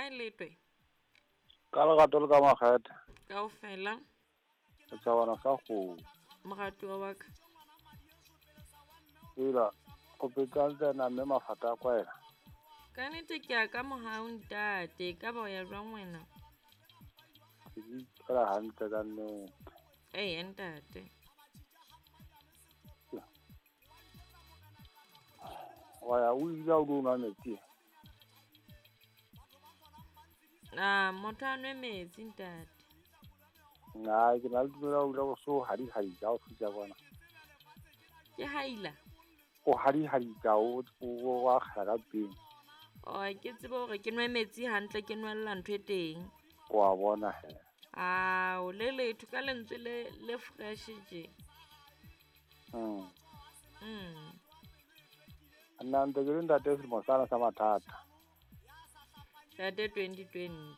Kae letwe? Ka lerato le ka makgethe. Kaofela. Setjhabana sa kgomo. Moratuwa wa ka. Ela, o phetse hantle na mme mafata a kwaela? Ka nnete ke ya ka mohau ntate, e ka ba o ya jwang wena? Ke di phela hantle ka nnete. Eya ntate. Wa ya o ile o nwa metsi? Ah, motho a nwe metsi ntate. Nna ke na le tumelo ya ho dula o so hadihadika ha o fihla kwana. Ke haila? O hadihadika o o akgela ka mpeng. Oh, ke tsebe hore ke nwe metsi hantle ke nwella ntho e teng. Wa bona he. Ao, le letho ka lentswe le le fresh tje. Nna ntse ke le ntate selemo sana sa mathata. Ntate 2020.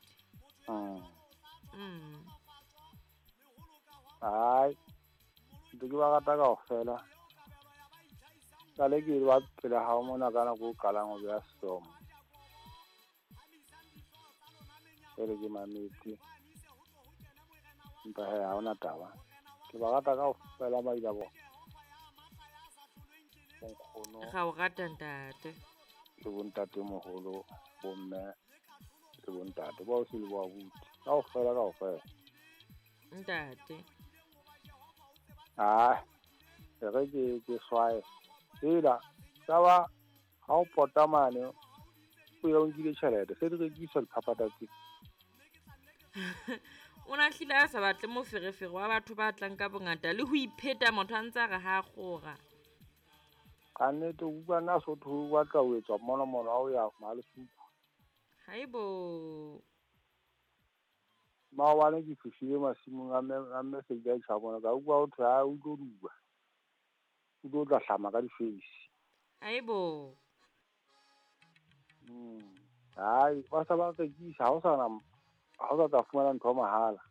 Hai, ntse ke ba rata kaofela. Sale ke ba pele hao mona ka nako o qalang ho beha sesomo. Jwale ke mametse. Empa he ha hona taba. Ke ba rata kaofela maila bona. Bonkgono. Ra o rata ntate. Le bontatemoholo, bomme le bontate bao se le bo abuti. Kaofela kaofela. Ntate. Ah, e re ke swae. Ela, taba ha o pota mane o ya o nkile tjhelete, se di rekiswa diphaphatha tse. O na hlile a sa batle moferefere wa batho ba tlang ka bongata le ho ipheta motho a ntse a re ha a kgora. Ka nnete o utlwa nna Sotho o batla ho etswa monomono ha o ya Malesuku. Haibo. Maobane ke fihlile masimong a mme Seila Tjhabona, ka utlwa ho thwe ha o tlo duba. O tlo tla hlama ka difeisi. Haibo. Hai, ba sa ba rekisa, ha o sa na, ha o sa tla fumana ntho mahala.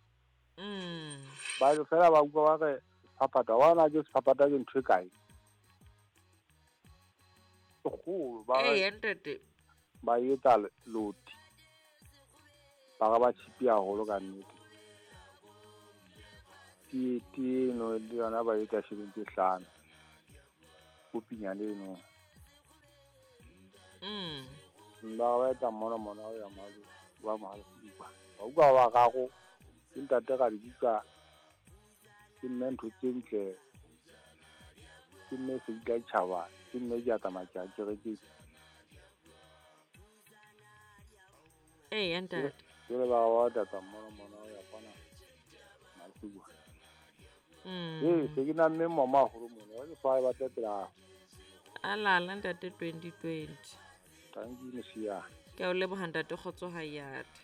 Ba fela ba utlwa ba re sephaphatha, wa na ke sephaphatha ke ntho e kae? E kgolo, ba re Ee, ntate. Ba etsa loti. Ba re ba tjhipi haholo ka nnete. Tee eno le yona ba etsa shilling tse 5. Kopinyane eno. Ba ba etsa monomono ha o ya mahalo, wa mahalo ba. Ba utlwa ba raro, ke ntate ra di bitsa, ke mme ntho tse ntle, ke mme Seila Tjhaba, ke mme ke a tsamaya ke a kerekeng. Eya, ntate. Jwale ba ba tlatsa monomono ha o ya kwana Masiwa. Ee, se ke namme mama haholo mona, wa ke swae ba tle pela hao. A lala ntate 2020. Thank you, Mosiane. Ke a o leboha ntate, kgotso ha e ate.